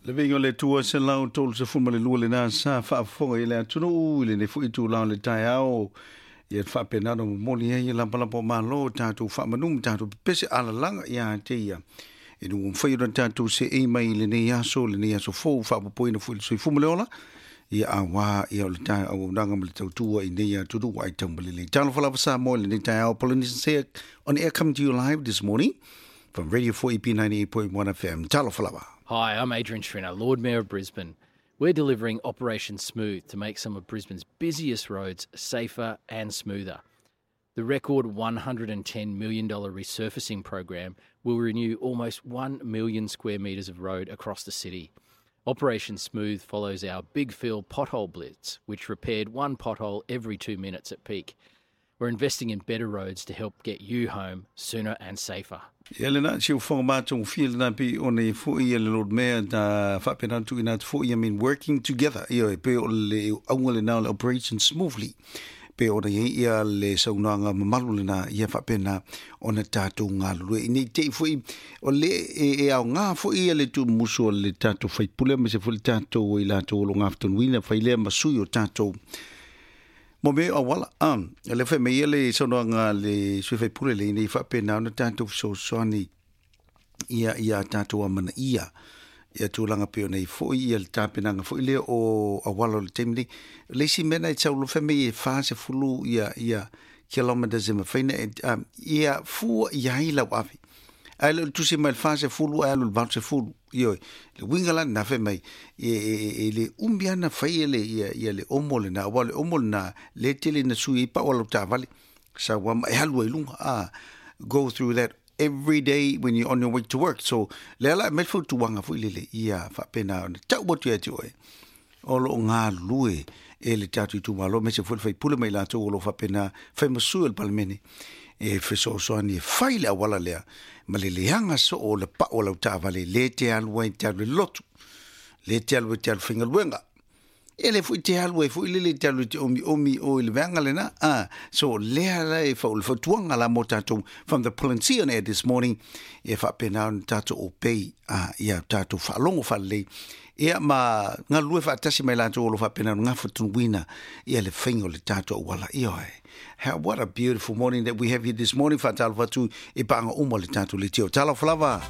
Le viiga o le Atua 132 lena sa faafofoga i le atunuu i lenei foi itula o le taeao ia faapena ona momoli ai lapalapa o malo tatou faamanu ma tatou pepese alalaga ia te ia ina ua mafai ona tatou seei mai i lenei aso fou faapopoina foi le soifua ma le ola ia auā ia o le auaunaga ma le tautua i nei atunuu ai taumalelei. Talofa lava Samoa i lenei taeao. Polynesian Sea on air coming to you live this morning from Radio 4EP 98.1 FM. Talofa lava. Hi, I'm Adrian Schrinner, Lord Mayor of Brisbane. We're delivering Operation Smooth to make some of Brisbane's busiest roads safer and smoother. The record $110 million resurfacing program will renew almost 1 million square metres of road across the city. Operation Smooth follows our Big Phil pothole blitz, which repaired one pothole every 2 minutes at peak. We're investing in better roads to help get you home sooner and safer. Ia lena, si o whanga mātou fia lena pi o nei fo ia le Lord Mayor da whaapena tu ina fo ia, I mean, working together. Ia e pe o le aunga le nā le Operation Smoothly. Pe o nei ia le saunoaga mamalu lena ia faapena ona tatou galulue. I nei te i foi o le e aoga foi ia le tumusu o le tatou faipule ma se foi le tatou i latou o lo gafatonuina fai lea ma sui o tatou mo me auala. Le fai mai ia le saunoaga le sui faipule le nei faapena ona tatou fesoasoani ia tatou amanaia ia tulaga pei ona i foi ia le tapenaga foi lea o auala o le taimi nei. Le isi mea na e taulofa mai e 40 ia kilometers e mafai na ia fua i ai lau ave. Ae le o le tusi mai le 40 ae alu le 80. Ioe, le uiga la lena fai mai e le umi ana fai e le ia le omo lena, aua o le omo lena le tele na sui ai pau o lau taavale. Sau ama e alu ai luga. Go through that every day when you're on your way to work. So, le ala e mai le fautuaga foi lele ia faapena ona tau atu ia te oe. O lo o galulue e le tatou itumalo, aemaise foi le faipule mai latou o lo o faapena fai ma sui o le Palemene e fesoasoani e fai le auala lea ma le leaga soo o le pau o lau taavale le te alu ai te alu i le lotu, le te alu ai te alu faigaluega. E le foi te alu ai foi lele te alu i te omiomi o i le veaga lena. So lea la e le fautuaga la mo tatou from the Polynesian on air this morning e faapena ona tatou obey ia tatou faalogo faalelei ia ma galulue faatasi mai latou o lo faapena ona gafatonuina ia le faiga o le tatou auala. Ioe. What a beautiful morning that we have here this morning. Faatalofa atu i paaga uma o le tatou leitio. Talofa lava.